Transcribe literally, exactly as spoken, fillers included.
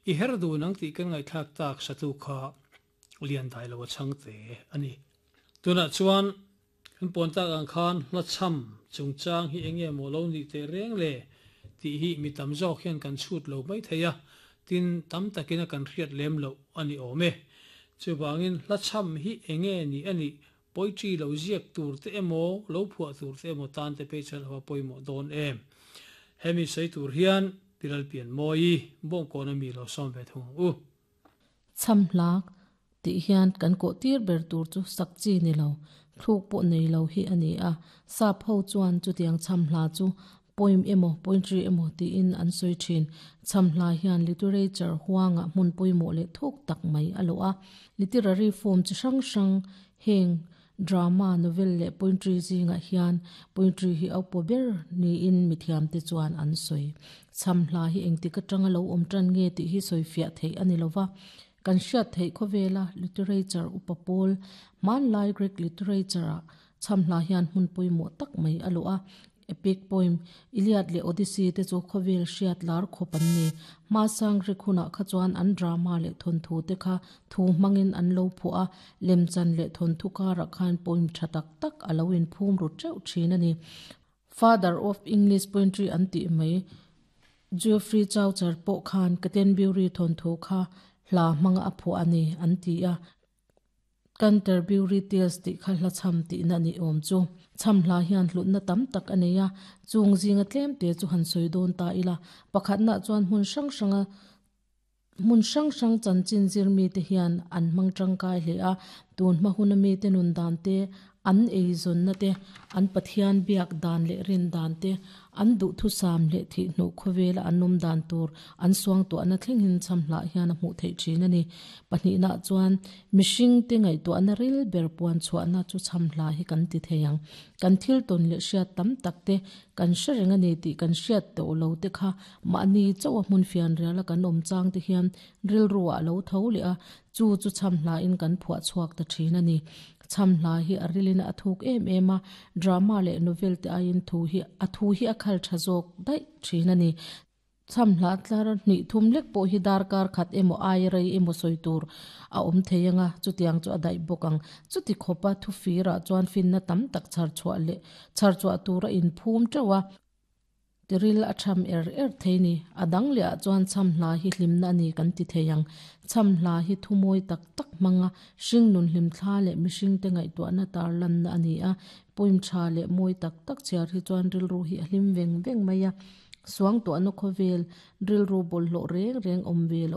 I her du nang ti kan ngai thak tak satu kha lian dai lo chang te ani. Tuna chuan kan pon tak ang khan hla cham chungchang hi enge maw lo ni te reng le ti hi mi tam zawk hian kan chhut lo mai theia tin tam takina kan hriat lem lo ani awm e. Chuwangin hla cham hi enge ni ani poetry lo ziak tur te emaw lo phuah tur te emaw tan te pe chan hawa pawimawh dawn em. Hemi sei tur hian Piral Pian Mawi bawng kawna mi lo sawm ve thung u. Cham hlak ti hian kan ko tir ber tur chu sak chi ni lo thluk pawh nei lo hi ani a. Sap ho chuan chutiang cham hla chu poem emaw poetry emaw tiin an sawi thin. Cham hla hian literature huanga hmun pawimawh leh thuk tak mai a lo a. Literary form chi hrang hrang heng drama, novel leh poetry zingah hian poetry hi a upa ber niin mithiam te chuan an sawi. Cham hla hi engtik atanga lo awm tan nge tih hi sawi fiah theih ani lova. Kan hriat theih khawvela literature upa pawl hmanlai Greek literature ah cham hla hian hmun pawimawh tak mai a lo a. Epic poem Iliad leh Odyssey te chu khawvel hriat lar khawp an ni. Hmasang Greek hunah kha chuan an drama leh thawnthu te kha thu hmangin an lo phuah a. Lemchan leh thawnthu karah khan poem tha tak tak a lo inphum ru teuh thin ani. Father of English poetry an tih mai Geoffrey Chaucer pawh khan Canterbury thawnthu kha hla hmanga a phuah ani an ti a. Canterbury Tales tih kha hla cham tihna ni awm chu. Cham hla hian hlutna tam tak a nei a. Chung zinga tlem te chu han sawi dawn ta ila. Pakhatna chuan hmun hrang hranga hmun hrang hrang chanchin zir mi te hian an hmang tangkai hle a. Tun hma huna mi te nun dan te, an ei zawnna te, an pathian biak dan leh rin dan te, an duh thu sam leh thih hnu khawvela an awm dan tur an suang tuahna thleng hin cham hla hian a hmuh theih thin ani. Pahnihna chuan mihring te ngaihtuahna ril ber puan chhuahna chu cham hla hi kan ti thei ang. Kan thil tawn leh hriat tam tak te kan hre reng ani tih kan hriat tawh lo te kha mahni chaw a hmun fian riala kan awm chang te hian rilru ah lo tho leh a. Chu chu cham hla in kan phuah chhuak ta thin ani. Cham hla hi a rilin a thuk em em a. Drama leh novel te aiin thu hi a thu hi a khal tha zawk daih thin ani. Cham hla tlar hnih thum lek pawh hi darkar khat emaw ai rei emaw sawi tur a awm thei anga. Chutiang chu a daih bawk ang. Chuti khawpa thu firah chuan finna tam tak chhar chhuah leh chhar chhuah tur a inphum teuh a. Tiril a tham er er thei ni. A dang leh ah chuan cham hla hi hlimna ani kan ti thei ang. Cham hla hi thu mawi tak tak hmanga hring nun hlim thla leh mihring te ngaihtuahna tar lanna ani a. Poem tha leh mawi tak tak chhiar hi chuan rilru hi a hlim veng veng mai a. Suang tuahna khawvel rilru bawlhhlawh reng reng awm ve lo